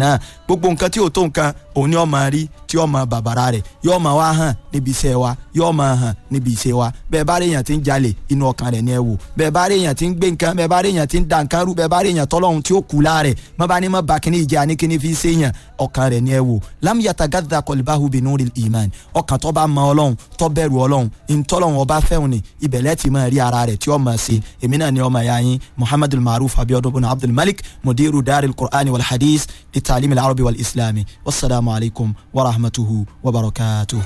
Náà gbogbo nǹkan tí ò tó nǹkan òun ni ó máa rí tí ó máa bàbàrà rẹ̀, yóò máa wá hàn níbi iṣẹ́ wa, yóò máa hàn níbi iṣẹ́ wa. Bẹ́ẹ̀ bá rí èèyàn tí ń jalè, inú ọkàn rẹ̀ ni ẹ wò. Bẹ́ẹ̀ bá rí èèyàn tí ń gbé nǹkan, bẹ́ẹ̀ bá rí èèyàn tí ń da nǹkan rú, bẹ́ẹ̀ bá rí èèyàn tọ́lọ́hun tí ó kú láàrẹ̀, mọ́ bá ní mọ́ bá kíní ìjà ní kíní fi ṣe èèyàn, ọkàn rẹ̀ ni ẹ wò. Lam yatagadda qalbahu binuril iman. Ọkàn tó bá mọ Ọlọ́run, tó bẹ̀rù Ọlọ́run, ìtọ́lọ́run ọba fẹ́hùn ni ibẹ̀lẹ́ ti máa rí ara rẹ̀ tí ó máa ṣe. Èmi náà ni ọmọ ìyá yín Muhammadul Maruf Abiodun bin Abdul Malik, mudiru daril Qur'ani wal hadith للتعليم العربي والإسلامي. والسلام عليكم ورحمته وبركاته.